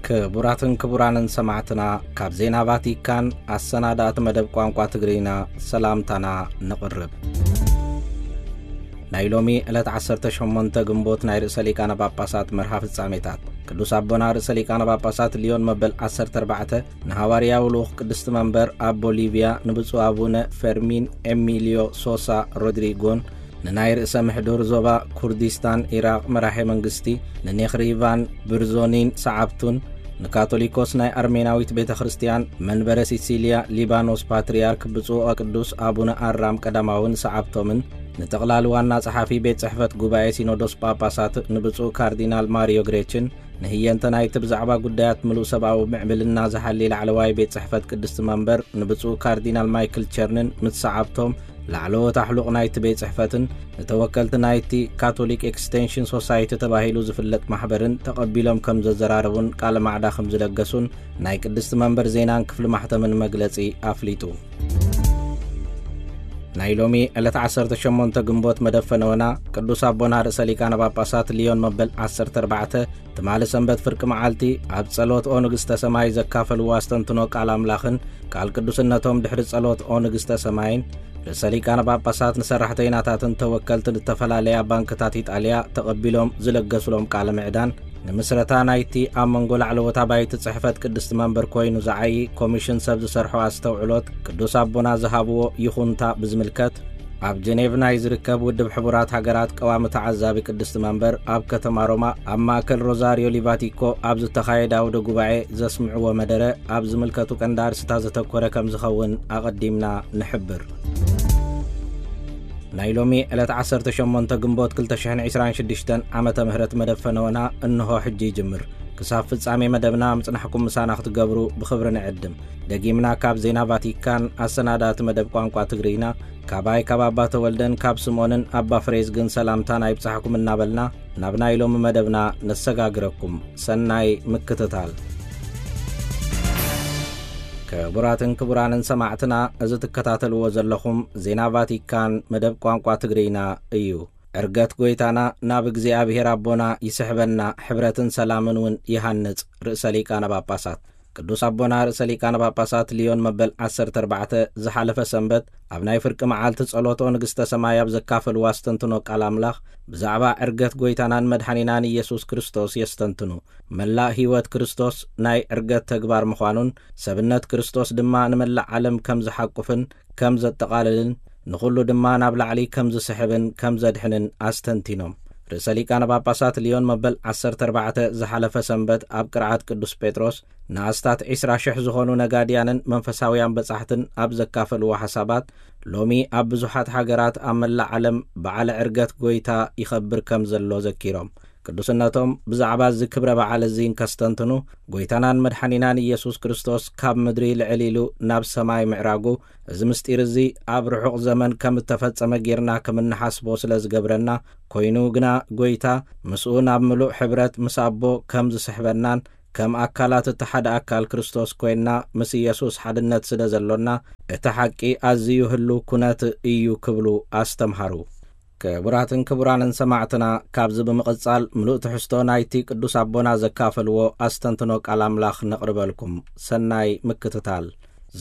ክቡራትን ክቡራንን ሰማዕትና፣ ካብ ዜና ቫቲካን ኣሰናዳእቲ መደብ ቋንቋ ትግርኛ ሰላምታና ነቕርብ። ናይ ሎሚ ዕለት ዓሰርተ ሸሞንተ ግንቦት ናይ ርእሰ ሊቃነ ጳጳሳት መርሃ ፍጻሜታት። ቅዱስ ኣቦና ርእሰ ሊቃነ ጳጳሳት ሊዮን መበል ዓሰርተ ኣርባዕተ ንሃዋርያዊ ልኡኽ ቅድስቲ መንበር ኣብ ቦሊቪያ ንብፁዕ ኣቡነ ፈርሚን ኤሚልዮ ሶሳ ሮድሪጎን፣ ንናይ ርእሰ ምሕዱር ዞባ ኩርዲስታን ኢራቕ መራሒ መንግስቲ ንኔኽሪቫን ብርዞኒን ሰዓብቱን፣ ንካቶሊኮስ ናይ ኣርሜናዊት ቤተ ክርስቲያን መንበረ ሲሲልያ ሊባኖስ ፓትርያርክ ብፁዕ ወቅዱስ ኣቡነ ኣራም ቀዳማውን ሰዓብቶምን፣ ንጠቕላሊ ዋና ጸሓፊ ቤት ጽሕፈት ጉባኤ ሲኖዶስ ጳጳሳት ንብፁዕ ካርዲናል ማሪዮ ግሬችን፣ ንህየንተ ናይቲ ብዛዕባ ጉዳያት ምሉእ ሰብኣዊ ምዕብልና ዝሓሊ ላዕለዋይ ቤት ጽሕፈት ቅድስቲ መንበር ንብፁዕ ካርዲናል ማይክል ቸርንን ምስ ሰዓብቶም፣ ላዕለዎት ኣሕሉቕ ናይቲ ቤት ጽሕፈትን ንተወከልቲ ናይቲ ካቶሊክ ኤክስቴንሽን ሶሳይቲ ተባሂሉ ዝፍለጥ ማሕበርን ተቐቢሎም ከም ዘዘራረቡን ቃለ ማዕዳ ከም ዝለገሱን ናይ ቅድስቲ መንበር ዜናን ክፍሊ ማሕተምን መግለጺ ኣፍሊጡ። ናይ ሎሚ ዕለት ዓሰርተ ሸሞንተ ግንቦት መደብ ፈነወና ቅዱስ ኣቦና ርእሰ ሊቃነ ጳጳሳት ሊዮን መበል ዓሰርተ ኣርባዕተ ትማሊ ሰንበት ፍርቂ መዓልቲ ኣብ ጸሎት ኦ ንግስተ ሰማይ ዘካፈልዎ ኣስተንትኖ ቃል ኣምላኽን ቃል ቅዱስነቶም ድሕሪ ጸሎት ኦ ንግስተ ሰማይን ርእሰ ሊቃነ ጳጳሳት ንሰራሕተይናታትን ተወከልትን ዝተፈላለያ ባንክታት ኢጣልያ ተቐቢሎም ዝለገሱሎም ቃለ ምዕዳን፣ ንምስረታ ናይቲ ኣብ መንጎ ላዕለዎት ኣባይቲ ጽሕፈት ቅድስቲ መንበር ኮይኑ ዝዓዪ ኮሚሽን ሰብ ዝሰርሖ ኣስተውዕሎት ቅዱስ ኣቦና ዝሃብዎ ይኹንታ ብዝምልከት፣ ኣብ ጀኔቭ ናይ ዝርከብ ውድብ ሕቡራት ሃገራት ቀዋሚ ተዓዛቢ ቅድስቲ መንበር ኣብ ከተማ ሮማ ኣብ ማእከል ሮዛሪዮ ሊቫቲኮ ኣብ ዝተኻየደ ኣውደ ጉባኤ ዘስምዕዎ መደረ ኣብ ዝምልከቱ ቀንዲ ኣርእስታት ዘተኮረ ከም ዝኸውን ኣቐዲምና ንሕብር። ናይ ሎሚ ዕለት ዓሰርተ ሸሞንተ ግንቦት ክልተ ሽሕን ዕስራን ሽዱሽተን ዓመተ ምህረት መደብ ፈነወና እንሆ ሕጂ ይጅምር። ክሳብ ፍጻሜ መደብና ምጽናሕኩም ምሳና ክትገብሩ ብኽብሪ ንዕድም። ደጊምና ካብ ዜና ቫቲካን ኣሰናዳእቲ መደብ ቋንቋ ትግርኛ፣ ካባይ ካብ ኣባ ተወልደን ካብ ስምኦንን ኣባ ፍሬዝግን ሰላምታ ናይ ብጻሕኩም እናበልና ናብ ናይ ሎሚ መደብና ነሰጋግረኩም። ሰናይ ምክትታል። ክቡራትን ክቡራንን ሰማዕትና፣ እዚ ትከታተልዎ ዘለኹም ዜና ቫቲካን መደብ ቋንቋ ትግርኛ እዩ። ዕርገት ጎይታና ናብ እግዚኣብሔር ኣቦና ይስሕበና፣ ሕብረትን ሰላምን እውን ይሃንጽ፣ ርእሰ ሊቃነ ጳጳሳት። ቅዱስ ኣቦና ርእሰ ሊቃነ ጳጳሳት ሊዮን መበል ዓሰርተ ኣርባዕተ ዝሓለፈ ሰንበት ኣብ ናይ ፍርቂ መዓልቲ ጸሎት ኦ ንግስተ ሰማይ ኣብ ዘካፈልዎ ኣስተንትኖ ቃል ኣምላኽ ብዛዕባ ዕርገት ጎይታናን መድሓኒናን ኢየሱስ ክርስቶስ የስተንትኑ። መላእ ህይወት ክርስቶስ ናይ ዕርገት ተግባር ምዃኑን ሰብነት ክርስቶስ ድማ ንመላእ ዓለም ከም ዝሓቁፍን ከም ዘጠቓልልን ንኹሉ ድማ ናብ ላዕሊ ከም ዝስሕብን ከም ዘድሕንን ኣስተንቲኖም። ርእሰ ሊቃነ ጳጳሳት ሊዮን መበል ዓሰርተ ኣርባዕተ ዝሓለፈ ሰንበት ኣብ ቅርዓት ቅዱስ ጴጥሮስ ንኣስታት ዕስራ ሽሕ ዝኾኑ ነጋድያንን መንፈሳውያን በጻሕትን ኣብ ዘካፈልዎ ሓሳባት፣ ሎሚ ኣብ ብዙሓት ሃገራት ኣብ መላእ ዓለም በዓለ ዕርገት ጎይታ ይኸብር ከም ዘሎ ዘኪሮም፣ ቅዱስነቶም ብዛዕባ እዚ ክብረ በዓል እዚ እንከስተንትኑ፣ ጎይታናን መድሓኒናን ኢየሱስ ክርስቶስ ካብ ምድሪ ልዕል ኢሉ ናብ ሰማይ ምዕራጉ፣ እዚ ምስጢር እዚ ኣብ ርሑቕ ዘመን ከም እተፈጸመ ጌርና ከም እንሓስቦ ስለ ዝገብረና፣ ኮይኑ ግና ጎይታ ምስኡ ናብ ምሉእ ሕብረት ምስ ኣቦ ከም ዝስሕበናን ከም ኣካላት እቲ ሓደ ኣካል ክርስቶስ ኮይንና ምስ ኢየሱስ ሓድነት ስለ ዘሎና፣ እቲ ሓቂ ኣዝዩ ህሉው ኩነት እዩ ክብሉ ኣስተምሃሩ። ክቡራትን ክቡራንን ሰማዕትና፣ ካብዚ ብምቕጻል ምሉእ ትሕዝቶ ናይቲ ቅዱስ ኣቦና ዘካፈልዎ ኣስተንትኖ ቃል ኣምላኽ ነቕርበልኩም። ሰናይ ምክትታል።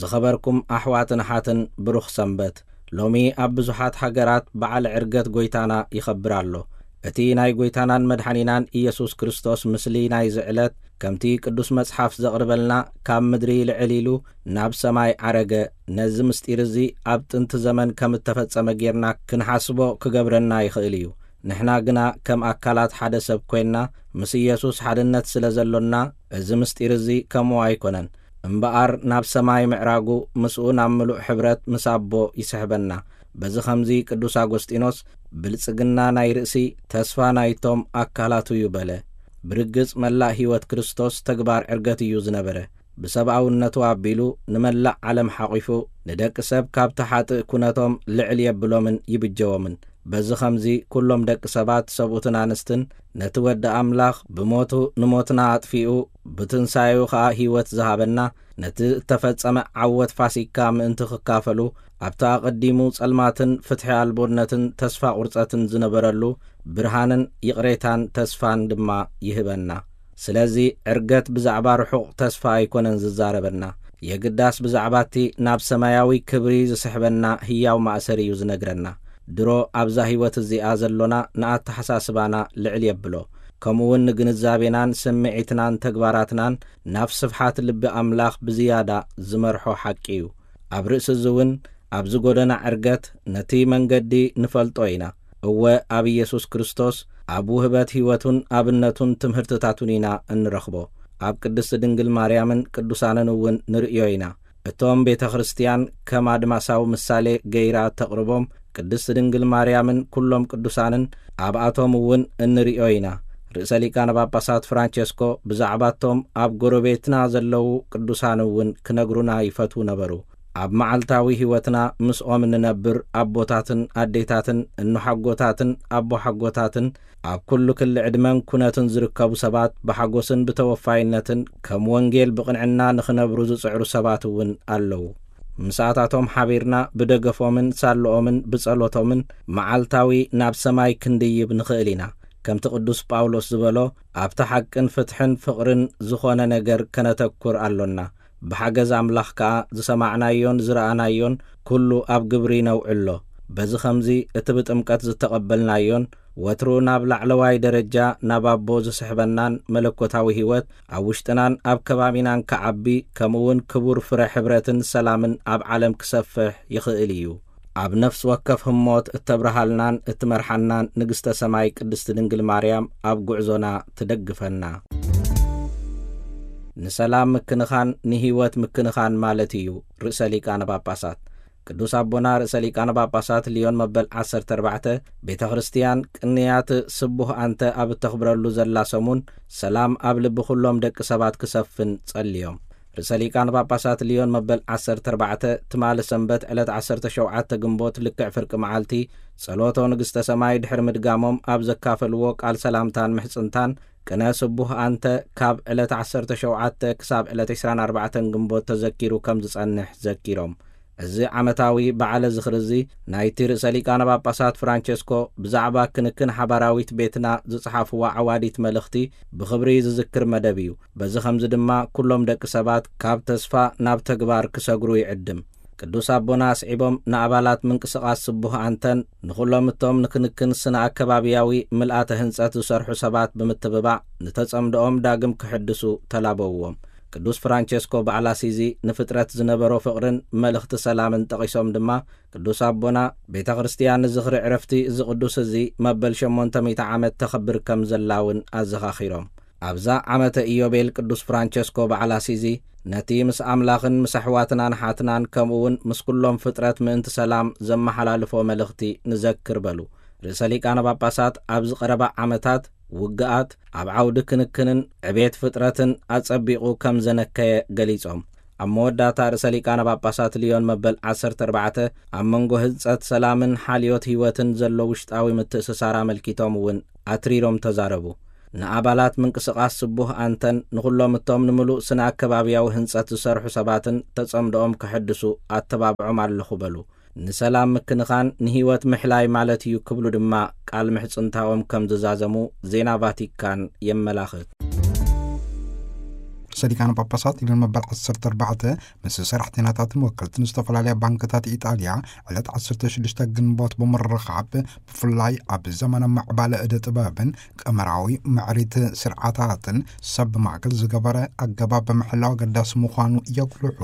ዝኸበርኩም ኣሕዋትን ኣሓትን፣ ብሩኽ ሰንበት። ሎሚ ኣብ ብዙሓት ሃገራት በዓል ዕርገት ጎይታና ይኸብር ኣሎ። እቲ ናይ ጎይታናን መድሓኒናን ኢየሱስ ክርስቶስ ምስሊ ናይዚ ዕለት፣ ከምቲ ቅዱስ መጽሓፍ ዘቕርበልና፣ ካብ ምድሪ ልዕል ኢሉ ናብ ሰማይ ዓረገ። ነዚ ምስጢር እዚ ኣብ ጥንቲ ዘመን ከም እተፈጸመ ጌርና ክንሓስቦ ክገብረና ይኽእል እዩ። ንሕና ግና ከም ኣካላት ሓደ ሰብ ኮይንና ምስ ኢየሱስ ሓድነት ስለ ዘሎና፣ እዚ ምስጢር እዚ ከምኡ ኣይኮነን። እምበኣር ናብ ሰማይ ምዕራጉ፣ ምስኡ ናብ ምሉእ ሕብረት ምስ ኣቦ ይስሕበና። በዚ ኸምዚ ቅዱስ ኣጎስጢኖስ፣ ብልጽግና ናይ ርእሲ፣ ተስፋ ናይቶም ኣካላቱ እዩ በለ። ብርግጽ መላእ ህይወት ክርስቶስ ተግባር ዕርገት እዩ ዝነበረ። ብሰብኣውነቱ ኣቢሉ ንመላእ ዓለም ሓቒፉ፣ ንደቂ ሰብ ካብቲ ሓጥእ ኩነቶም ልዕል የብሎምን ይብጀዎምን። በዚ ኸምዚ ኩሎም ደቂ ሰባት ሰብኡትን ኣንስትን ነቲ ወዲ ኣምላኽ ብሞቱ ንሞትና ኣጥፊኡ ብትንሳኤኡ ኸኣ ህይወት ዝሃበና፣ ነቲ እተፈጸመ ዓወት ፋሲካ ምእንቲ ክካፈሉ፣ ኣብቲ ኣቐዲሙ ጸልማትን ፍትሒ ኣልቦነትን ተስፋ ቁርጸትን ዝነበረሉ ብርሃንን ይቕሬታን ተስፋን ድማ ይህበና። ስለዚ ዕርገት ብዛዕባ ርሑቕ ተስፋ ኣይኮነን ዝዛረበና። የግዳስ ብዛዕባ እቲ ናብ ሰማያዊ ክብሪ ዝስሕበና ህያው ማእሰር እዩ ዝነግረና። ድሮ ኣብዛ ህይወት እዚኣ ዘሎና ንኣተሓሳስባና ልዕል የብሎ። ከምኡ እውን ንግንዛቤናን ስምዒትናን ተግባራትናን ናብ ስፍሓት ልቢ ኣምላኽ ብዝያዳ ዝመርሖ ሓቂ እዩ። ኣብ ርእሲ እዚ እውን ኣብዚ ጎደና ዕርገት ነቲ መንገዲ ንፈልጦ ኢና። እወ፣ ኣብ ኢየሱስ ክርስቶስ፣ ኣብ ውህበት ህይወቱን ኣብነቱን ትምህርትታቱን ኢና እንረኽቦ። ኣብ ቅድስቲ ድንግል ማርያምን ቅዱሳንን እውን ንርእዮ ኢና። እቶም ቤተ ክርስቲያን ከም ኣድማሳዊ ምሳሌ ገይራ ተቕርቦም ቅድስቲ ድንግል ማርያምን ኩሎም ቅዱሳንን ኣብኣቶም እውን እንርእዮ ኢና። ርእሰ ሊቃነ ጳጳሳት ፍራንቸስኮ ብዛዕባቶም ኣብ ጎረቤትና ዘለዉ ቅዱሳን እውን ክነግሩና ይፈትዉ ነበሩ። ኣብ መዓልታዊ ህይወትና ምስኦም እንነብር ኣቦታትን ኣዴታትን፣ እኖሓጎታትን ኣቦሓጎታትን፣ ኣብ ኩሉ ክሊ ዕድመን ኩነትን ዝርከቡ ሰባት ብሓጎስን ብተወፋይነትን ከም ወንጌል ብቕንዕና ንኽነብሩ ዝጽዕሩ ሰባት እውን ኣለዉ። ምሳታቶም ሓቢርና ብደገፎምን ሳልኦምን ብጸሎቶምን መዓልታዊ ናብ ሰማይ ክንድይብ ንኽእል ኢና። ከምቲ ቅዱስ ጳውሎስ ዝበሎ፣ ኣብቲ ሓቅን ፍትሕን ፍቕርን ዝኾነ ነገር ከነተኩር ኣሎና። ብሓገዝ ኣምላኽ ከኣ ዝሰማዕናዮን ዝረኣናዮን ኩሉ ኣብ ግብሪ ነውዕሎ። በዚ ኸምዚ እቲ ብጥምቀት ዝተቐበልናዮን ወትሩ ናብ ላዕለዋይ ደረጃ ናብ ኣቦ ዝስሕበናን መለኮታዊ ህይወት ኣብ ውሽጥናን ኣብ ከባቢናን ክዓቢ፣ ከምኡ እውን ክቡር ፍረ ሕብረትን ሰላምን ኣብ ዓለም ክሰፍሕ ይኽእል እዩ። ኣብ ነፍሲ ወከፍ ህሞት እተብርሃልናን እትመርሓናን ንግስተ ሰማይ ቅድስቲ ድንግል ማርያም ኣብ ጉዕዞና ትደግፈና። ንሰላም ምክንኻን ንህይወት ምክንኻን ማለት እዩ። ርእሰ ሊቃነ ጳጳሳት ቅዱስ ኣቦና ርእሰ ሊቃነ ጳጳሳት ልዮን መበል ዓሰርተ ኣርባዕተ፣ ቤተ ክርስቲያን ቅንያት ስቡህ ኣንተ ኣብ እተኽብረሉ ዘላ ሰሙን፣ ሰላም ኣብ ልቢ ኩሎም ደቂ ሰባት ክሰፍን ጸልዮም። ርእሰ ሊቃነ ጳጳሳት ልዮን መበል ዓሰርተ ኣርባዕተ፣ ትማሊ ሰንበት ዕለት ዓሰርተ ሸውዓተ ግንቦት ልክዕ ፍርቂ መዓልቲ፣ ጸሎቶ ንግስተ ሰማይ ድሕሪ ምድጋሞም፣ ኣብ ዘካፈልዎ ቃል ሰላምታን ምሕጽንታን፣ ቅነ ስቡህ ኣንተ ካብ ዕለት ዓሰርተ ሸውዓተ ክሳብ ዕለት ዕስራን ኣርባዕተን ግንቦት ተዘኪሩ ከም ዝጸንሕ ዘኪሮም። እዚ ዓመታዊ በዓለ ዝኽሪ እዚ ናይቲ ርእሰ ሊቃነ ጳጳሳት ፍራንቸስኮ ብዛዕባ ክንክን ሓባራዊት ቤትና ዝጸሓፍዋ ዓዋዲት መልእኽቲ ብኽብሪ ዝዝክር መደብ እዩ። በዚ ኸምዚ ድማ ኩሎም ደቂ ሰባት ካብ ተስፋ ናብ ተግባር ክሰግሩ ይዕድም። ቅዱስ ኣቦና ኣስዒቦም ንኣባላት ምንቅስቓስ ስቡህ ኣንተን ንኹሎም እቶም ንክንክን ስነ ኣከባብያዊ ምልኣተ ህንጸት ዝሰርሑ ሰባት ብምትብባዕ ንተጸምዶኦም ዳግም ክሕድሱ ተላበውዎም። ቅዱስ ፍራንቸስኮ በዓል ኣሲዚ ንፍጥረት ዝነበሮ ፍቕርን መልእኽቲ ሰላምን ጠቒሶም ድማ፣ ቅዱስ ኣቦና ቤተ ክርስቲያን ንዝኽሪ ዕረፍቲ እዚ ቅዱስ እዚ መበል ሸሞንተ ሚእቲ ዓመት ተኽብር ከም ዘላ እውን ኣዘኻኺሮም። ኣብዛ ዓመተ ኢዮቤል ቅዱስ ፍራንቸስኮ በዓል ኣሲዚ ነቲ ምስ ኣምላኽን ምስ ኣሕዋትናን ሓትናን ከምኡ እውን ምስ ኩሎም ፍጥረት ምእንቲ ሰላም ዘመሓላልፎ መልእኽቲ ንዘክር በሉ። ርእሰ ሊቃነ ጳጳሳት ኣብዚ ቀረባ ዓመታት ውግኣት ኣብ ዓውዲ ክንክንን ዕቤት ፍጥረትን ኣጸቢቑ ከም ዘነከየ ገሊጾም። ኣብ መወዳእታ ርእሰ ሊቃነ ጳጳሳት ልዮን መበል ዓሰርተ ኣርባዕተ ኣብ መንጎ ህንጸት ሰላምን ሓልዮት ህይወትን ዘሎ ውሽጣዊ ምትእስሳር ኣመልኪቶም እውን ኣትሪሮም ተዛረቡ። ንኣባላት ምንቅስቓስ ስቡህ ኣንተን ንኹሎም እቶም ንምሉእ ስነ ኣከባብያዊ ህንጸት ዝሰርሑ ሰባትን ተጸምዶኦም ከሐድሱ ኣተባብዖም ኣለኹ በሉ። ንሰላም ምክንኻን ንህይወት ምሕላይ ማለት እዩ ክብሉ ድማ ቃል ምሕጽንታኦም ከም ዝዛዘሙ ዜና ቫቲካን የመላኽት። ርእሰ ሊቃነ ጳጳሳት ልዮን መበል ዓሰርተ ኣርባዕተ ምስ ሰራሕተኛታትን ወከልትን ዝተፈላለያ ባንክታት ኢጣልያ ዕለት ዓሰርተ ሽዱሽተ ግንቦት ብምርኻብ፣ ብፍላይ ኣብ ዘመነ ምዕባለ እደ ጥበብን ቀመራዊ ምዕሪት ስርዓታትን ሰብ ማእከል ዝገበረ ኣገባብ ብምሕላው ኣገዳሲ ምዃኑ የጉልሑ።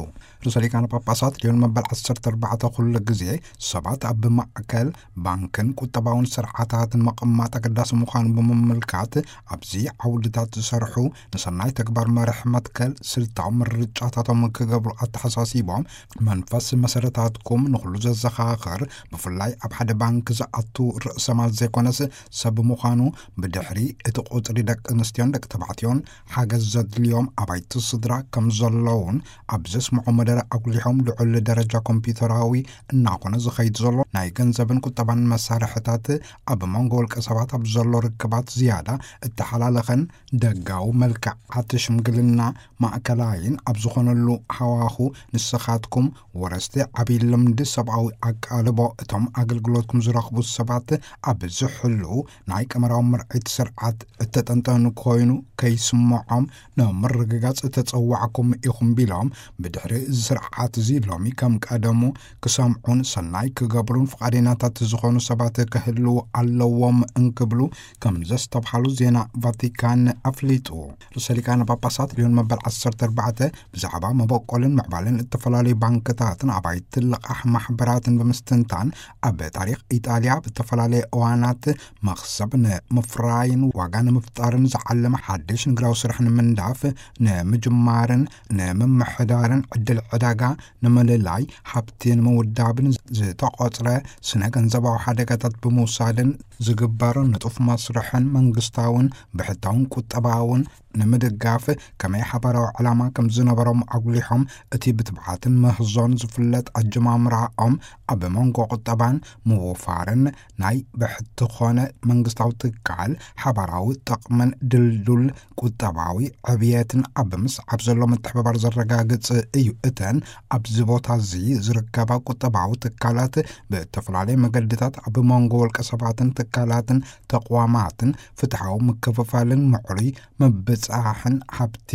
ርእሰ ሊቃነ ጳጳሳት ልዮን መበል ዓሰርተ ኣርባዕተ ኩሉ ግዜ ሰባት ኣብ ማእከል ባንክን ቁጠባውን ስርዓታትን ምቕማጥ ኣገዳሲ ምዃኑ ብምምልካት፣ ኣብዚ ዓውድታት ዝሰርሑ ንሰናይ ተግባር መርሕ መትከል ስልታዊ ምርጫታቶም ክገብሩ ኣተሓሳሲቦም፣ መንፈስ መሰረታትኩም ንኹሉ ዘዘኻኽር፣ ብፍላይ ኣብ ሓደ ባንክ ዝኣቱ ርእሰ ማል ዘይኮነስ ሰብ ምዃኑ፣ ብድሕሪ እቲ ቁጽሪ ደቂ ኣንስትዮን ደቂ ተባዕትዮን ሓገዝ ዘድልዮም ኣባይቲ ስድራ ከም ዘለውን ኣብ ዘስምዖ መደረ ኣጉሊሖም፣ ልዑል ደረጃ ኮምፒውተራዊ እናኾነ ዝኸይድ ዘሎ ናይ ገንዘብን ቁጠባን መሳርሕታት ኣብ መንጎ ውልቀ ሰባት ኣብ ዘሎ ርክባት ዝያዳ እተሓላለኸን ደጋዊ መልክዓት ሽምግልና ማእከላይን ኣብ ዝኾነሉ ሃዋሁ፣ ንስኻትኩም ወረስቲ ዓብዪ ልምዲ ሰብኣዊ ኣቃልቦ፣ እቶም ኣገልግሎትኩም ዝረኽቡ ሰባት ኣብ ዝሕልዉ ናይ ቀመራዊ ምርዒት ስርዓት እተጠንጠኑ ኮይኑ ከይስምዖም ንምርግጋጽ እተጸዋዕኩም ኢኹም ቢሎም፣ ብድሕሪ እዚ ስርዓት እዚ ሎሚ ከም ቀደሙ ክሰምዑን ሰናይ ክገብሩን ፍቓደኛታት ዝኾኑ ሰባት ክህልዉ ኣለዎም እንክብሉ ከም ዘስተብሃሉ ዜና ቫቲካን ኣፍሊጡ። ርእሰ ሊቃነ ጳጳሳት ልዮን መበል ዓሰርተ ኣርባዕተ ብዛዕባ መበቆልን ምዕባለን እተፈላለዩ ባንክታትን ኣባይቲ ልቓሕ ማሕበራትን ብምስትንታን፣ ኣብ ታሪኽ ኢጣልያ ብተፈላለየ እዋናት መኽሰብ ንምፍራይን ዋጋ ንምፍጣርን ዝዓለመ ሓድሽ ንግዳዊ ስራሕ ንምንዳፍ፣ ንምጅማርን ንምምሕዳርን ዕድል ዕዳጋ ንምልላይ፣ ሃብቲ ንምውዳብን ዝተቖጽረ ስነ ገንዘባዊ ሓደጋታት ብምውሳድን ዝግበር ንጡፍ መስርሕን መንግስታውን ብሕታውን ቁጠባውን ንምድጋፍ ከመይ ሓባራዊ ዕላማ ከም ዝነበሮም ኣጉሊሖም፣ እቲ ብትብዓትን ምህዞን ዝፍለጥ ኣጀማምራኦም ኣብ መንጎ ቁጠባን ምውፋርን ናይ ብሕቲ ኾነ መንግስታዊ ትካል ሓባራዊ ጥቕምን ድልዱል ቁጠባዊ ዕብየትን ኣብ ምስዓብ ዘሎ ምትሕብባር ዘረጋግጽ እዩ። እተን ኣብዚ ቦታ እዚ ዝርከባ ቁጠባዊ ትካላት ብእተፈላለየ መገድታት ኣብ መንጎ ውልቀ ሰባትን ትካላትን ተቋማትን ፍትሓዊ ምክፍፋልን ምዕሩይ ምብጻሕን ሃብቲ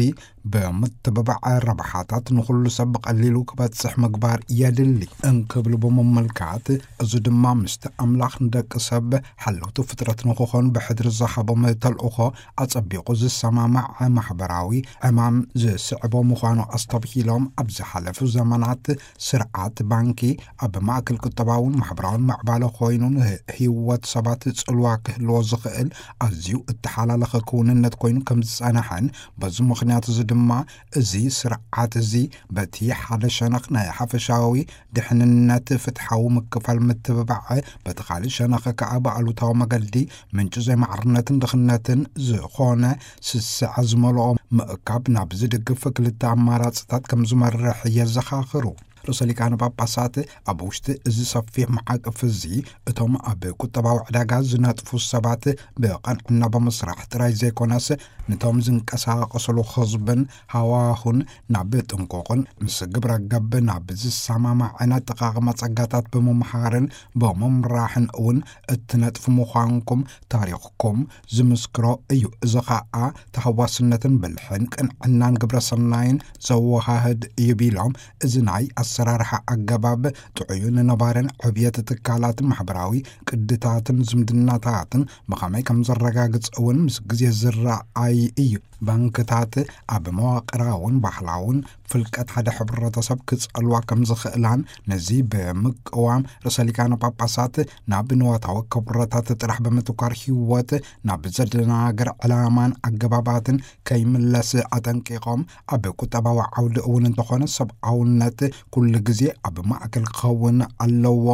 ብምትብባዕ ረብሓታት ንኹሉ ሰብ ብቐሊሉ ክበጽሕ ምግባር የድሊ እንክብሉ ብምምልካት፣ እዚ ድማ ምስቲ ኣምላኽ ንደቂ ሰብ ሓለውቲ ፍጥረት ንክኾኑ ብሕድሪ ዝሃቦም ተልእኾ ኣጸቢቑ ዝሰማማዕ ማሕበራዊ ዕማም ዝስዕቦ ምዃኑ ኣስተብሂሎም፣ ኣብ ዝሓለፉ ዘመናት ስርዓት ባንኪ ኣብ ማእከል ቁጠባውን ማሕበራውን ምዕባለ ኮይኑ ንህይወት ሰባት ጽልዋ ክህልዎ ዝኽእል ኣዝዩ እተሓላለኸ ክውንነት ኮይኑ ከም ዝጸንሐን፣ በዚ ምኽንያት እዚ ድማ እዚ ስርዓት እዚ በቲ ሓደ ሸነኽ ናይ ሓፈሻዊ ድሕንነት ፍትሓዊ ምክፋል ምትብባዕ፣ በቲ ካልእ ሸነኽ ከኣ ብኣሉታዊ መገዲ ምንጪ ዘይማዕርነትን ድኽነትን ዝኾነ ስስዐ ዝመልኦ ምእካብ ናብ ዝድግፍ ክልተ ኣማራጽታት ከም ዝመርሕ የዘኻኽሩ። ርእሰ ሊቃነ ጳጳሳት ኣብ ውሽጢ እዚ ሰፊሕ መዓቀፍ እዚ፣ እቶም ኣብ ቁጠባዊ ዕዳጋ ዝነጥፉ ሰባት ብቐንዕና ብምስራሕ ጥራይ ዘይኮነስ፣ ነቶም ዝንቀሳቐስሉ ህዝብን ሃዋሁን ናብ ጥንቁቕን ምስ ግብረ ገብ ናብ ዝሰማማዕን ኣጠቓቕማ ጸጋታት ብምምሃርን ብምምራሕን እውን እትነጥፉ ምዃንኩም ታሪኽኩም ዝምስክሮ እዩ። እዚ ኸኣ ተሃዋስነትን ብልሕን ቅንዕናን ግብረ ሰናይን ዘወሃህድ እዩ ቢሎም፣ እዚ ናይ ኣሰራርሓ ኣገባብ ጥዑይን ነባርን ዕብየት ትካላትን ማሕበራዊ ቅድታትን ዝምድናታትን ብኸመይ ከም ዘረጋግጽ እውን ምስ ግዜ ዝረኣይ እዩ። ባንክታት ኣብ መዋቕራውን ባህላውን ፍልቀት ሓደ ሕብረተሰብ ክጸልዋ ከም ዝኽእላን፣ ነዚ ብምቅዋም ርእሰ ሊቃነ ጳጳሳት ናብ ንዋታዊ ክብረታት ጥራሕ ብምትኳር ህይወት ናብ ዘደናግር ዕላማን ኣገባባትን ከይምለስ ኣጠንቂቖም፣ ኣብ ቁጠባዊ ዓውዲ እውን እንተኾነ ሰብኣውነት ኩሉ ግዜ ኣብ ማእከል ክኸውን ኣለዎ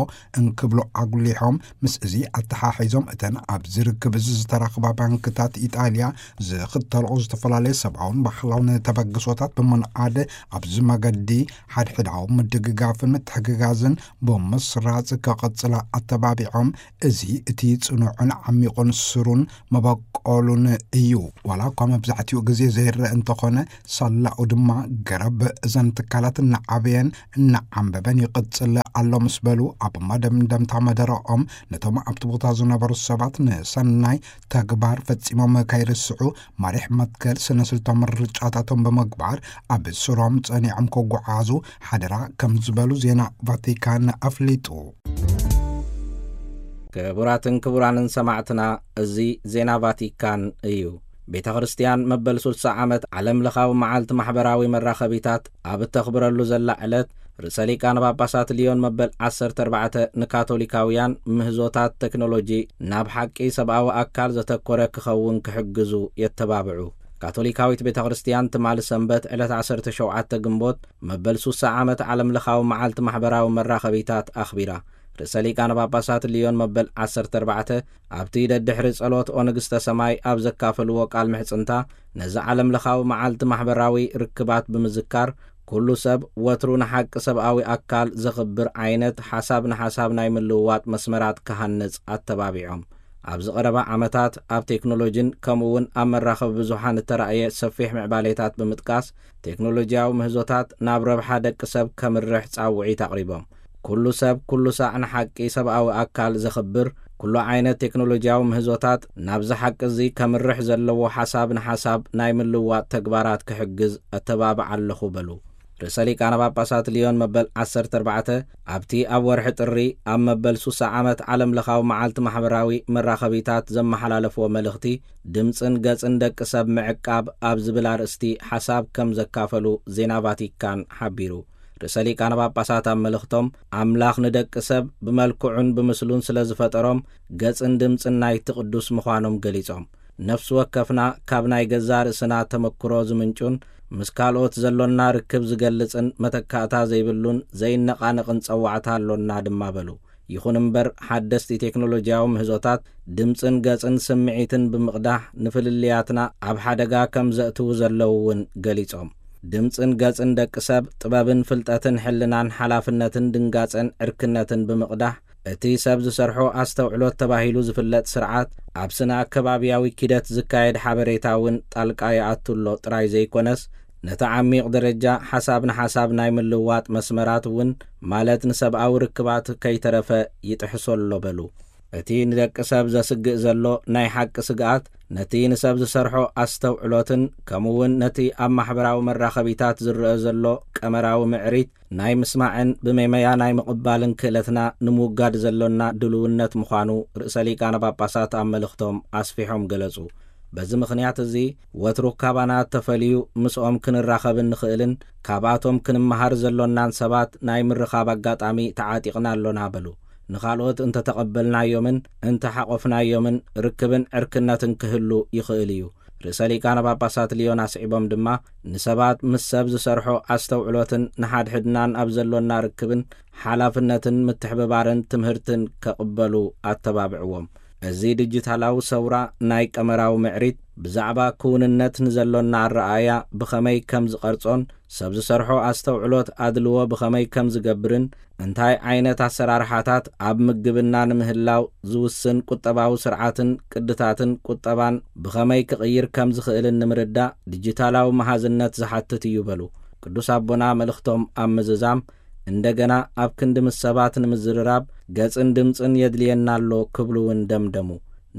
እንክብሉ ኣጉሊሖም፣ ምስ እዚ ኣተሓሒዞም እተን ኣብዚ ርክብ እዚ ዝተረኽባ ባንክታት ኢጣልያ ዝኽተልኦ ዝተፈላለዩ ሰብኣውን ባህላውን ተበግሶታት ብምንኣድ ኣብዚ መገዲ ሓድሕዳዊ ምድግጋፍን ምትሕግጋዝን ብምስራጽ ክቕጽላ ኣተባቢዖም፣ እዚ እቲ ጽኑዕን ዓሚቑን ስሩን መበቆሉን እዩ። ዋላ እኳ መብዛሕትኡ ግዜ ዘይረአ እንተኾነ፣ ሳላኡ ድማ ገረብ እዘን ትካላት እናዓበየን እናዓንበበን ይቕጽል ኣሎ ምስ በሉ፣ ኣብ መደምደምታ መደረኦም ነቶም ኣብቲ ቦታ ዝነበሩ ሰባት ንሰናይ ተግባር ፈጺሞም ከይርስዑ፣ ማሪሕ መትከል ስነ ስልታዊ ምርጫታቶም ብምግባር ኣብ ስሮም ጸኒዖም ክጓዓዙ ሓደራ ከም ዝበሉ ዜና ቫቲካን ኣፍሊጡ። ክቡራትን ክቡራንን ሰማዕትና፣ እዚ ዜና ቫቲካን እዩ። ቤተ ክርስቲያን መበል ስልሳ ዓመት ዓለም ለኻዊ መዓልቲ ማሕበራዊ መራኸቢታት ኣብ እተኽብረሉ ዘላ ዕለት፣ ርእሰ ሊቃነ ጳጳሳት ልዮን መበል ዓሰርተ ኣርባዕተ ንካቶሊካውያን ምህዞታት ቴክኖሎጂ ናብ ሓቂ ሰብኣዊ ኣካል ዘተኮረ ክኸውን ክሕግዙ የተባብዑ። ካቶሊካዊት ቤተ ክርስቲያን ትማሊ ሰንበት ዕለት ዓሰርተ ሸውዓተ ግንቦት መበል ስሳ ዓመት ዓለም ለኻዊ መዓልቲ ማሕበራዊ መራኸቢታት ኣኽቢራ። ርእሰ ሊቃነ ጳጳሳት ልዮን መበል ዓሰርተ ኣርባዕተ ኣብቲ ደድሕሪ ጸሎት ኦ ንግስተ ሰማይ ኣብ ዘካፈልዎ ቃል ምሕጽንታ፣ ነዚ ዓለም ለኻዊ መዓልቲ ማሕበራዊ ርክባት ብምዝካር፣ ኩሉ ሰብ ወትሩ ንሓቂ ሰብኣዊ ኣካል ዘኽብር ዓይነት ሓሳብ ንሓሳብ ናይ ምልውዋጥ መስመራት ክሃንጽ ኣተባቢዖም። ኣብዚ ቀረባ ዓመታት ኣብ ቴክኖሎጂን ከምኡ እውን ኣብ መራኸቢ ብዙሓን እተራእየ ሰፊሕ ምዕባሌታት ብምጥቃስ፣ ቴክኖሎጂያዊ ምህዞታት ናብ ረብሓ ደቂ ሰብ ከምርሕ ጻውዒት ኣቕሪቦም። ኩሉ ሰብ ኩሉ ሳዕ ንሓቂ ሰብኣዊ ኣካል ዘኽብር፣ ኩሉ ዓይነት ቴክኖሎጂያዊ ምህዞታት ናብዚ ሓቂ እዚ ከምርሕ ዘለዎ ሓሳብ ንሓሳብ ናይ ምልውዋጥ ተግባራት ክሕግዝ እተባብዕ ኣለኹ በሉ። ርእሰ ሊቃነ ጳጳሳት ሊዮን መበል ዓሰርተ ኣርባዕተ ኣብቲ ኣብ ወርሒ ጥሪ ኣብ መበል ሱሳ ዓመት ዓለም ለኻዊ መዓልቲ ማሕበራዊ መራኸቢታት ዘመሓላለፍዎ መልእኽቲ፣ ድምጽን ገጽን ደቂ ሰብ ምዕቃብ ኣብ ዝብል ኣርእስቲ ሓሳብ ከም ዘካፈሉ ዜና ቫቲካን ሓቢሩ። ርእሰ ሊቃነ ጳጳሳት ኣብ መልእኽቶም፣ ኣምላኽ ንደቂ ሰብ ብመልክዑን ብምስሉን ስለ ዝፈጠሮም፣ ገጽን ድምጽን ናይቲ ቅዱስ ምዃኖም ገሊጾም፣ ነፍሲ ወከፍና ካብ ናይ ገዛእ ርእስና ተመክሮ ዝምንጩን ምስ ካልኦት ዘሎና ርክብ ዝገልጽን መተካእታ ዘይብሉን ዘይነቓነቕን ጸዋዕታ ኣሎና ድማ በሉ። ይኹን እምበር፣ ሓደስቲ ቴክኖሎጂያዊ ምህዞታት ድምጽን ገጽን ስምዒትን ብምቕዳሕ ንፍልልያትና ኣብ ሓደጋ ከም ዘእትዉ ዘለዉ እውን ገሊጾም፣ ድምጽን ገጽን ደቂ ሰብ ጥበብን ፍልጠትን ሕልናን ሓላፍነትን ድንጋጸን ዕርክነትን ብምቕዳሕ፣ እቲ ሰብ ዝሰርሖ ኣስተውዕሎት ተባሂሉ ዝፍለጥ ስርዓት ኣብ ስነ ኣከባብያዊ ኪደት ዝካየድ ሓበሬታ እውን ጣልቃ ይኣቱ ኣሎ ጥራይ ዘይኮነስ፣ ነቲ ዓሚቕ ደረጃ ሓሳብ ንሓሳብ ናይ ምልውዋጥ መስመራት እውን፣ ማለት ንሰብኣዊ ርክባት ከይተረፈ ይጥሕሶ ኣሎ በሉ። እቲ ንደቂ ሰብ ዘስግእ ዘሎ ናይ ሓቂ ስግኣት፣ ነቲ ንሰብ ዝሰርሖ ኣስተውዕሎትን ከምኡ እውን ነቲ ኣብ ማሕበራዊ መራኸቢታት ዝረአ ዘሎ ቀመራዊ ምዕሪት ናይ ምስማዕን ብመመያ ናይ ምቕባልን ክእለትና ንምውጋድ ዘሎና ድልውነት ምዃኑ ርእሰ ሊቃነ ጳጳሳት ኣብ መልእኽቶም ኣስፊሖም ገለጹ። በዚ ምኽንያት እዚ፣ ወትሩ ካባና እተፈልዩ ምስኦም ክንራኸብ እንኽእልን ካብኣቶም ክንመሃር ዘሎናን ሰባት ናይ ምርኻብ ኣጋጣሚ ተዓጢቕና ኣሎና በሉ። ንኻልኦት እንተተቐበልናዮምን እንተሓቖፍናዮምን ርክብን ዕርክነትን ክህሉ ይኽእል እዩ። ርእሰ ሊቃነ ጳጳሳት ሊዮን ኣስዒቦም ድማ፣ ንሰባት ምስ ሰብ ዝሰርሖ ኣስተውዕሎትን ንሓድሕድናን ኣብ ዘሎና ርክብን ሓላፍነትን ምትሕብባርን ትምህርትን ከቕበሉ ኣተባብዕዎም። እዚ ዲጂታላዊ ሰውራ ናይ ቀመራዊ ምዕሪት ብዛዕባ ክውንነት ንዘሎና ኣረኣእያ ብኸመይ ከም ዝቐርጾን ሰብ ዝሰርሖ ኣስተውዕሎት ኣድልዎ ብኸመይ ከም ዝገብርን እንታይ ዓይነት ኣሰራርሓታት ኣብ ምግብና ንምህላው ዝውስን ቁጠባዊ ስርዓትን ቅድታትን ቁጠባን ብኸመይ ክቕይር ከም ዝኽእልን ንምርዳእ ዲጂታላዊ መሃዝነት ዝሓትት እዩ በሉ። ቅዱስ ኣቦና መልእኽቶም ኣብ ምዝዛም፣ እንደገና ኣብ ክንዲ ምስ ሰባት ንምዝርራብ ገጽን ድምጽን የድልየና ኣሎ ክብሉ እውን ደምደሙ።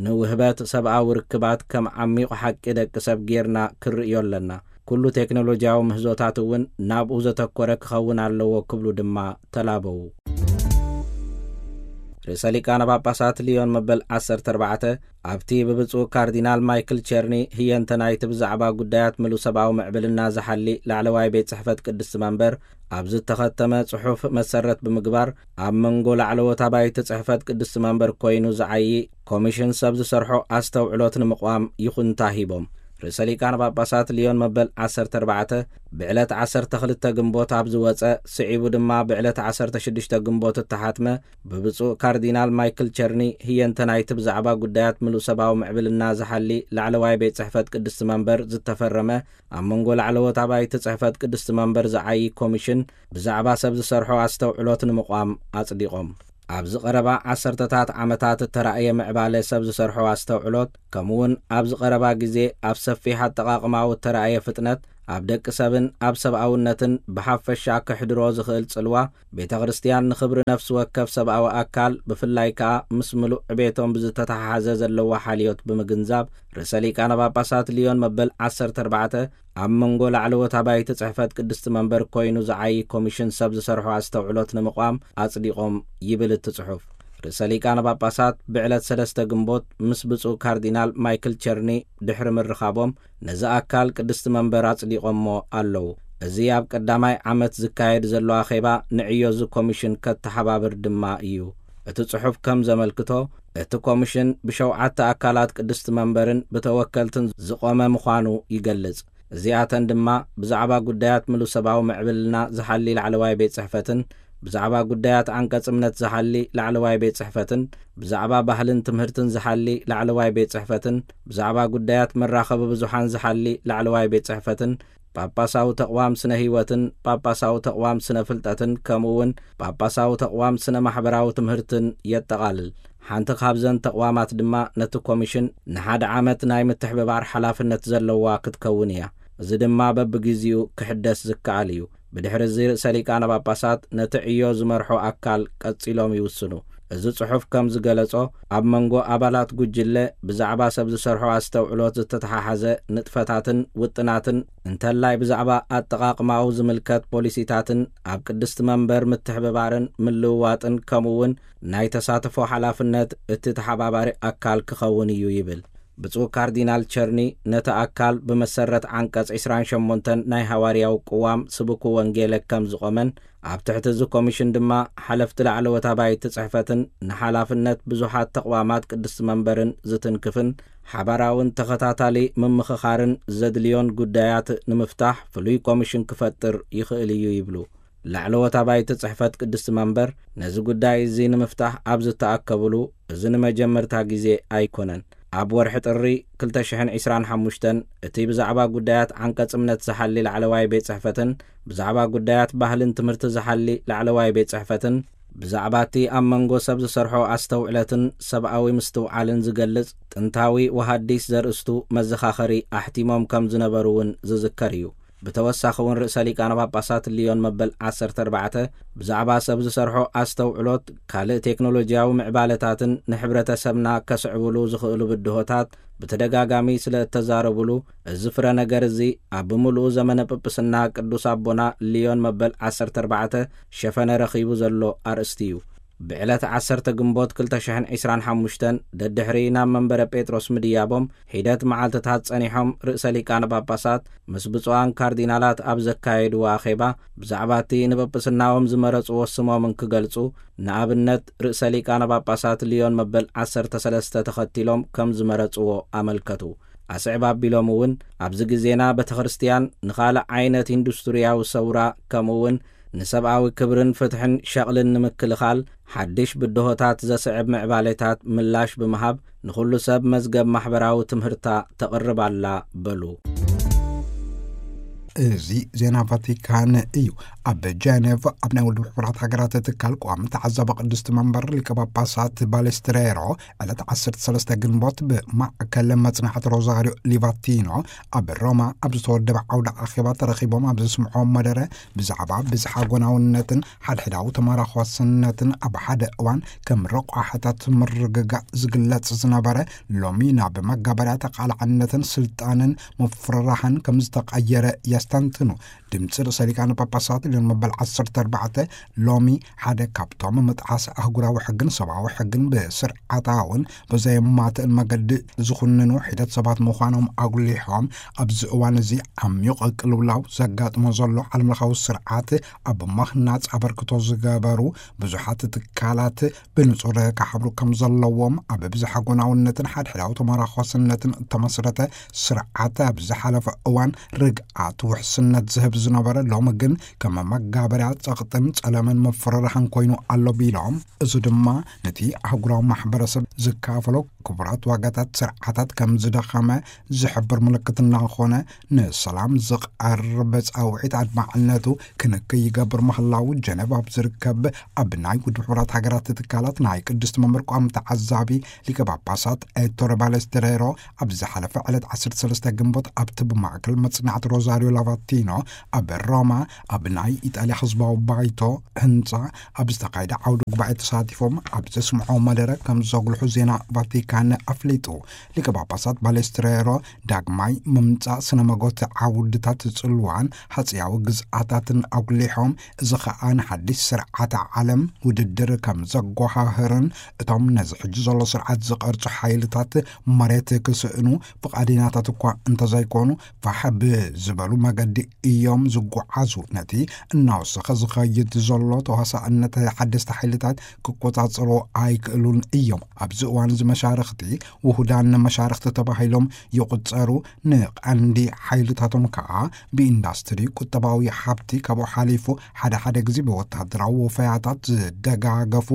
ንውህበት ሰብኣዊ ርክባት ከም ዓሚቕ ሓቂ ደቂ ሰብ ጌርና ክርእዮ ኣለና። ኩሉ ቴክኖሎጂያዊ ምህዞታት እውን ናብኡ ዘተኮረ ክኸውን ኣለዎ ክብሉ ድማ ተላበዉ። ርእሰ ሊቃነ ጳጳሳት ሊዮን መበል ዓሰርተ ኣርባዕተ ኣብቲ ብብፁዕ ካርዲናል ማይክል ቸርኒ ህየንተ ናይቲ ብዛዕባ ጉዳያት ምሉእ ሰብኣዊ ምዕብልና ዝሓሊ ላዕለዋይ ቤት ጽሕፈት ቅድስቲ መንበር ኣብ ዝተኸተመ ጽሑፍ መሰረት ብምግባር፣ ኣብ መንጎ ላዕለዎት ኣባይቲ ጽሕፈት ቅድስቲ መንበር ኮይኑ ዝዓዪ ኮሚሽን ሰብ ዝሰርሖ ኣስተውዕሎት ንምቕዋም ይኹንታ ሂቦም። ርእሰ ሊቃነ ጳጳሳት ሊዮን መበል ዓሰርተ ኣርባዕተ ብዕለት ዓሰርተ ክልተ ግንቦት ኣብ ዝወጸ፣ ስዒቡ ድማ ብዕለት ዓሰርተ ሽዱሽተ ግንቦት እተሓትመ ብብፁዕ ካርዲናል ማይክል ቸርኒ ህየንተ ናይቲ ብዛዕባ ጉዳያት ምሉእ ሰብኣዊ ምዕብልና ዝሓሊ ላዕለዋይ ቤት ጽሕፈት ቅድስቲ መንበር ዝተፈረመ፣ ኣብ መንጎ ላዕለዎት ኣባይቲ ጽሕፈት ቅድስቲ መንበር ዝዓዪ ኮሚሽን ብዛዕባ ሰብ ዝሰርሖ ኣስተውዕሎት ንምቕዋም ኣጽዲቖም። ኣብዚ ቀረባ ዓሰርተታት ዓመታት እተራእየ ምዕባለ ሰብ ዝሰርሖ ኣስተውዕሎት፣ ከምኡውን ኣብዚ ቀረባ ግዜ ኣብ ሰፊሕ ኣጠቓቕማኡ እተራእየ ፍጥነት፣ ኣብ ደቂ ሰብን ኣብ ሰብኣውነትን ብሓፈሻ ከሕድሮ ዝኽእል ጽልዋ፣ ቤተ ክርስቲያን ንኽብሪ ነፍሲ ወከፍ ሰብኣዊ ኣካል፣ ብፍላይ ከኣ ምስ ምሉእ ዕቤቶም ብዝተተሓሓዘ ዘለዋ ሓልዮት ብምግንዛብ፣ ርእሰ ሊቃነ ጳጳሳት ሊዮን መበል ዓሰርተ ኣርባዕተ ኣብ መንጎ ላዕለዎት ኣባይቲ ጽሕፈት ቅድስቲ መንበር ኮይኑ ዝዓዪ ኮሚሽን ሰብ ዝሰርሖ ኣስተውዕሎት ንምቕዋም ኣጽዲቖም ይብል እቲ ጽሑፍ። ርእሰ ሊቃነ ጳጳሳት ብዕለት ሰለስተ ግንቦት ምስ ብፁዕ ካርዲናል ማይክል ቸርኒ ድሕሪ ምርኻቦም፣ ነዚ ኣካል ቅድስቲ መንበር ኣጽዲቖሞ ኣለዉ። እዚ ኣብ ቀዳማይ ዓመት ዝካየድ ዘሎ ኣኼባ ንዕዮ እዚ ኮሚሽን ከተሓባብር ድማ እዩ። እቲ ጽሑፍ ከም ዘመልክቶ፣ እቲ ኮሚሽን ብሸውዓተ ኣካላት ቅድስቲ መንበርን ብተወከልትን ዝቖመ ምዃኑ ይገልጽ። እዚኣተን ድማ ብዛዕባ ጉዳያት ምሉእ ሰብኣዊ ምዕብልና ዝሓሊ ላዕለዋይ ቤት ጽሕፈትን፣ ብዛዕባ ጉዳያት ዓንቀጽ እምነት ዝሓሊ ላዕለዋይ ቤት ጽሕፈትን፣ ብዛዕባ ባህልን ትምህርትን ዝሓሊ ላዕለዋይ ቤት ጽሕፈትን፣ ብዛዕባ ጉዳያት መራኸቢ ብዙሓን ዝሓሊ ላዕለዋይ ቤት ጽሕፈትን፣ ጳጳሳዊ ተቕዋም ስነ ህይወትን ጳጳሳዊ ተቕዋም ስነ ፍልጠትን ከምኡ እውን ጳጳሳዊ ተቕዋም ስነ ማሕበራዊ ትምህርትን የጠቓልል። ሓንቲ ካብዘን ተቕዋማት ድማ ነቲ ኮሚሽን ንሓደ ዓመት ናይ ምትሕብባር ሓላፍነት ዘለዋ ክትከውን እያ። እዚ ድማ በብግዜኡ ክሕደስ ዝከኣል እዩ። ብድሕሪ እዚ ርእሰ ሊቃነ ጳጳሳት ነቲ ዕዮ ዝመርሖ ኣካል ቀጺሎም ይውስኑ። እዚ ጽሑፍ ከም ዝገለጾ፣ ኣብ መንጎ ኣባላት ጉጅለ ብዛዕባ ሰብ ዝሰርሖ ኣስተውዕሎት ዝተተሓሓዘ ንጥፈታትን ውጥናትን፣ እንተላይ ብዛዕባ ኣጠቓቕማኡ ዝምልከት ፖሊሲታትን ኣብ ቅድስቲ መንበር ምትሕብባርን ምልውዋጥን ከምኡ እውን ናይ ተሳትፎ ሓላፍነት እቲ ተሓባባሪ ኣካል ክኸውን እዩ ይብል። ብፁዕ ካርዲናል ቸርኒ ነቲ ኣካል ብመሰረት ዓንቀጽ ዕስራን ሸሞንተን ናይ ሃዋርያዊ ቅዋም ስብኩ ወንጌለ ከም ዝቖመን ኣብ ትሕቲ እዚ ኮሚሽን ድማ ሓለፍቲ ላዕለዎት ኣባይቲ ጽሕፈትን ንሓላፍነት ብዙሓት ተቕዋማት ቅድስቲ መንበርን ዝትንክፍን ሓባራውን ተኸታታሊ ምምኽኻርን ዘድልዮን ጉዳያት ንምፍታሕ ፍሉይ ኮሚሽን ክፈጥር ይኽእል እዩ ይብሉ። ላዕለዎት ኣባይቲ ጽሕፈት ቅድስቲ መንበር ነዚ ጉዳይ እዚ ንምፍታሕ ኣብ ዝተኣከብሉ፣ እዚ ንመጀመርታ ግዜ ኣይኮነን። ኣብ ወርሒ ጥሪ ክልተ ሽሕን ዕስራን ሓሙሽተን እቲ ብዛዕባ ጉዳያት ዓንቀጽ እምነት ዝሓሊ ላዕለዋይ ቤት ጽሕፈትን ብዛዕባ ጉዳያት ባህልን ትምህርቲ ዝሓሊ ላዕለዋይ ቤት ጽሕፈትን ብዛዕባ እቲ ኣብ መንጎ ሰብ ዝሰርሖ ኣስተውዕለትን ሰብኣዊ ምስትውዓልን ዝገልጽ ጥንታዊ ወሃዲስ ዘርእስቱ መዘኻኸሪ ኣሕቲሞም ከም ዝነበሩ እውን ዝዝከር እዩ። ብተወሳኺ እውን ርእሰ ሊቃነ ጳጳሳት ሊዮን መበል ዓሰርተ ኣርባዕተ ብዛዕባ ሰብ ዝሰርሖ ኣስተውዕሎት ካልእ ቴክኖሎጂያዊ ምዕባለታትን ንሕብረተሰብና ከስዕብሉ ዝኽእሉ ብድሆታት ብተደጋጋሚ ስለ እተዛረቡሉ፣ እዚ ፍረ ነገር እዚ ኣብ ብምሉኡ ዘመነ ጵጵስና ቅዱስ ኣቦና ሊዮን መበል ዓሰርተ ኣርባዕተ ሸፈነ ረኺቡ ዘሎ ኣርእስቲ እዩ። ብዕለት ዓሰርተ ግንቦት ክልተ ሽሕን ዕስራን ሓሙሽተን ደድሕሪ ናብ መንበረ ጴጥሮስ ምድያቦም ሒደት መዓልትታት ጸኒሖም፣ ርእሰ ሊቃነ ጳጳሳት ምስ ብፁዓን ካርዲናላት ኣብ ዘካየድዎ ኣኼባ፣ ብዛዕባ እቲ ንጵጵስናኦም ዝመረጽዎ ስሞምን ክገልጹ፣ ንኣብነት ርእሰ ሊቃነ ጳጳሳት ሊዮን መበል ዓሰርተ ሰለስተ ተኸቲሎም ከም ዝመረጽዎ ኣመልከቱ። ኣስዕብ ኣቢሎም እውን፣ ኣብዚ ግዜና ቤተ ክርስቲያን ንኻልእ ዓይነት ኢንዱስትርያዊ ሰውራ፣ ከምኡ እውን ንሰብኣዊ ክብርን ፍትሕን ሸቕልን ንምክልኻል፣ ሓድሽ ብድሆታት ዘስዕብ ምዕባሌታት ምላሽ ብምሃብ፣ ንኹሉ ሰብ መዝገብ ማሕበራዊ ትምህርታ ተቕርብ ኣላ በሉ። እዚ ዜና ቫቲካን እዩ። ኣብ ጀኔቭ ኣብ ናይ ውድብ ሕቡራት ሃገራት ትካል ቋሚ ተዓዛቢ ቅድስቲ መንበር ሊቀ ጳጳሳት ባሌስትሬሮ ዕለት ዓሰርተ ሰለስተ ግንቦት ብማእከል መጽናዕቲ ሮዛሪዮ ሊቫቲኖ ኣብ ሮማ ኣብ ዝተወደበ ዓውደ ኣኼባ ተረኺቦም ኣብ ዘስምዖም መደረ፣ ብዛዕባ ብዝሓ ጎናውነትን ሓድሕዳዊ ተመራኾስነትን ኣብ ሓደ እዋን ከም ረቋሕታት ምርግጋእ ዝግለጽ ዝነበረ፣ ሎሚ ናብ መጋበርያ ተቓላዕነትን ስልጣንን ምፍርራሕን ከም ዝተቐየረ የስተንትኑ። ድምፂ ርእሰ ሊቃነ ጳጳሳት ሊዮን መበል ዓሰርተ ኣርባዕተ ሎሚ ሓደ ካብቶም ምጥሓስ ኣህጉራዊ ሕግን ሰብኣዊ ሕግን ብስርዓታውን ብዘየማትእን መገዲ ዝኹንኑ ሒደት ሰባት ምዃኖም ኣጉሊሖም፣ ኣብዚ እዋን እዚ ዓሚቕ ቅልውላው ዘጋጥሞ ዘሎ ዓለምለኻዊ ስርዓት ኣብ ምህናጽ ኣበርክቶ ዝገበሩ ብዙሓት ትካላት ብንጹር ክሓብሩ ከም ዘለዎም፣ ኣብ ብዝሓ ጎናውነትን ሓድሕዳዊ ተመራኾስነትን እተመስረተ ስርዓት ኣብ ዝሓለፈ እዋን ርግኣት ውሕስነት ዝህብ ዝነበረ፣ ሎሚ ግን ከም መጋበርያ ጸቕጥን ጸለመን መፈራርሕን ኮይኑ ኣሎ ቢሎም፣ እዚ ድማ ነቲ ኣህጉራዊ ማሕበረሰብ ዝካፈሎ ክቡራት ዋጋታት ስርዓታት ከም ዝደኸመ ዝሕብር ምልክት እናኾነ፣ ንሰላም ዝቐርብ ጻውዒት ኣድማዕነቱ ክንክይ ይገብር ምህላዉ ጀነቭ ኣብ ዝርከብ ኣብ ናይ ውድብ ሕቡራት ሃገራት ትካላት ናይ ቅድስቲ መምህር ቋሚ ተዓዛቢ ሊቀ ጳጳሳት ኤቶረ ባለስትሬሮ ኣብ ዝሓለፈ ዕለት ዓሰርተ ሰለስተ ግንቦት ኣብቲ ብማእከል መጽናዕቲ ሮዛሪዮ ላቫቲኖ ኣብ ሮማ ኣብ ናይ ኢጣልያ ህዝባዊ ባይቶ ህንጻ ኣብ ዝተኻየደ ዓውደ ጉባኤ ተሳቲፎም ኣብ ዘስምዖ መደረ ከም ዘጉልሑ ዜና ቫቲካን ኣፍሊጡ። ሊቀ ጳጳሳት ባሌስትሬሮ ዳግማይ ምምጻእ ስነ መጎት ዓውድታት ጽልዋን ሃጽያዊ ግዝኣታትን ኣጉሊሖም፣ እዚ ኸኣ ንሓድሽ ስርዓተ ዓለም ውድድር ከም ዘጓሃህርን እቶም ነዚ ሕጂ ዘሎ ስርዓት ዝቐርጹ ሓይልታት መሬት ክስእኑ ፍቓደኛታት እኳ እንተዘይኮኑ፣ ፋሕ ብዝበሉ መገዲ እዮም ዝጓዓዙ። ነቲ እናወሰኸ ዝኸይድ ዘሎ ተዋሳእነት ሓደስቲ ሓይልታት ክቆጻጸርዎ ኣይክእሉን እዮም። ኣብዚ እዋን እዚ መሻርኽቲ ውሁዳን መሻርኽቲ ተባሂሎም ይቑጸሩ። ንቐንዲ ሓይልታቶም ከኣ ብኢንዳስትሪ፣ ቁጠባዊ ሃብቲ፣ ካብኡ ሓሊፉ ሓደ ሓደ ግዜ ብወተሃደራዊ ወፈያታት ዝደጋገፉ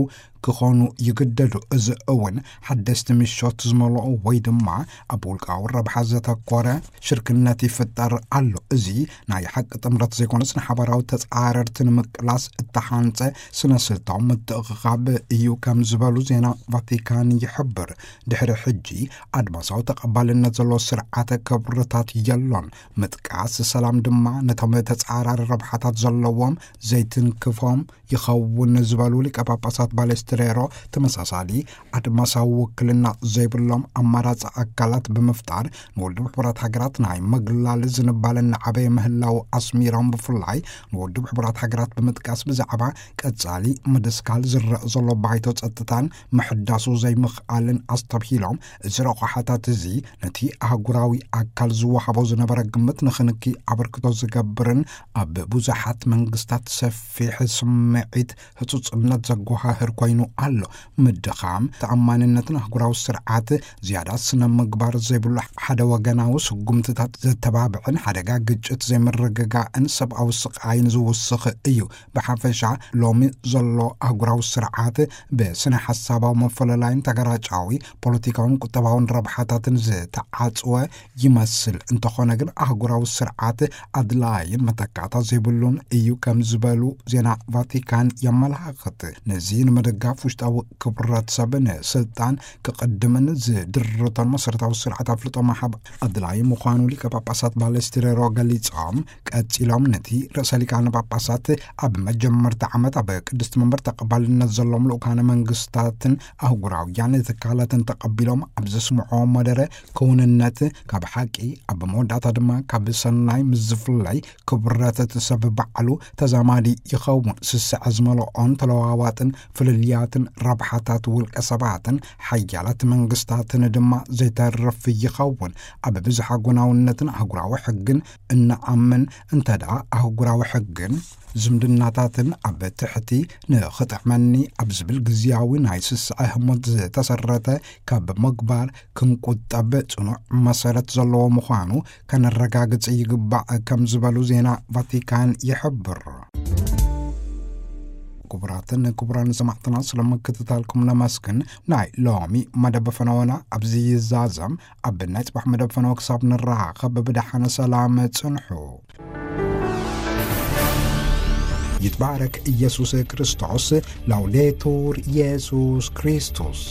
ክኾኑ ይግደዱ። እዚ እውን ሓደስቲ ምሾት ዝመልኦ ወይ ድማ ኣብ ውልቃዊ ረብሓ ዘተኮረ ሽርክነት ይፍጠር ኣሎ። እዚ ናይ ሓቂ ጥምረት ዘይኮነስ ንሓባራዊ ተጻረርቲ ንምቅላስ እተሓንጸ ስነ ስልታዊ ምትእኽኻብ እዩ ከም ዝበሉ ዜና ቫቲካን ይሕብር። ድሕሪ ሕጂ ኣድማሳዊ ተቐባልነት ዘለዎ ስርዓተ ክብርታት የሎን። ምጥቃስ ሰላም ድማ ነቶም ተጻራሪ ረብሓታት ዘለዎም ዘይትንክፎም ይኸውን ዝበሉ ሊቀ ጳጳሳት ባሌስትሬሮ፣ ተመሳሳሊ ኣድማሳዊ ውክልና ዘይብሎም ኣማራጺ ኣካላት ብምፍጣር ንውድብ ሕቡራት ሃገራት ናይ መግላል ዝንባለ እናዓበየ ምህላው ኣስሚሮም፣ ብፍላይ ንውድብ ሕቡራት ሃገራት ብምጥቃስ ብዛዕባ ቀጻሊ ምድስካል ዝረእ ዘሎ ባይቶ ጸጥታን ምሕዳሱ ዘይምኽኣልን ኣስተብሂሎም፣ እዚ ረቑሓታት እዚ ነቲ ኣህጉራዊ ኣካል ዝወሃቦ ዝነበረ ግምት ንኽንኪ ኣበርክቶ ዝገብርን ኣብ ብዙሓት መንግስታት ሰፊሕ ስምዒት ህጹጽነት ዘጓሃህር ኮይኑ ኣሎ። ምድኻም ተኣማንነትን ኣህጉራዊ ስርዓት ዝያዳ ስነ ምግባር ዘይብሉ ሓደ ወገናዊ ስጉምትታት ዘተባብዕን ሓደጋ ግጭት ዘይምርግጋእን ሰብኣዊ ስቃይን ዝውስኽ እዩ። ብሓፈሻ ሎሚ ዘሎ ኣህጉራዊ ስርዓት ብስነ ሓሳባዊ መፈለላይን ተገራጫዊ ፖለቲካውን ቁጠባውን ረብሓታትን ዝተዓጽወ ይመስል። እንተኾነ ግን ኣህጉራዊ ስርዓት ኣድላይን መተካእታ ዘይብሉን እዩ ከም ዝበሉ ዜና ቫቲካን የመላኽት። ነዚ ንምድጋፍ ውሽጣዊ ክብረት ሰብ ንስልጣን ክቕድምን ዝድርቶን መሰረታዊ ስርዓት ኣፍልጦ ምሃብ ኣድላይ ምዃኑ ሊቀ ጳጳሳት ባለስትሬሮ ገሊጾም፣ ቀጺሎም ነቲ ርእሰ ሊቃነ ጳጳሳት ኣብ መጀመርታ ዓመት ኣብ ቅድስቲ መንበር ተቐባልነት ዘሎም ልኡካነ መንግስታትን ኣህጉራውያን ትካላትን ተቐቢሎም ኣብ ዘስምዖ መደረ፣ ክውንነት ካብ ሓቂ ኣብ መወዳእታ ድማ ካብ ሰናይ ምስ ዝፍለይ ክብረት እቲ ሰብ ባዕሉ ተዛማዲ ይኸውን። ስስዐ ዝመልኦን ተለዋዋጥን ፍልልያትን ረብሓታት ውልቀ ሰባትን ሓያላት መንግስታትን ድማ ዘይተርፍ ይኸውን። ኣብ ብዝሓ ጎናውነትን ኣህጉራዊ ሕግን እንኣምን እንተ ደኣ ኣህጉራዊ ሕግን ዝምድናታትን ኣብ ትሕቲ ንኽጥዕመኒ ኣብ ዝብል ግዝያዊ ናይ ስስዐ ህሞት ዝተሰረተ ካብ ምግባር ክንቁጠብ ጽኑዕ መሰረት ዘለዎ ምዃኑ ከነረጋግጽ ይግባእ ከም ዝበሉ ዜና ቫቲካን ይሕብር። ክቡራትን ክቡራን ሰማዕትና፣ ስለ ምክትታልኩም ነመስግን። ናይ ሎሚ መደብ ፈነወና ኣብዚ ይዛዘም። ኣብ ናይ ጽባሕ መደብ ፈነወ ክሳብ ንራኸብ ብደሓነ ሰላም ጽንሑ። ይትባረክ ኢየሱስ ክርስቶስ። ላውዴቱር ኢየሱስ ክርስቶስ።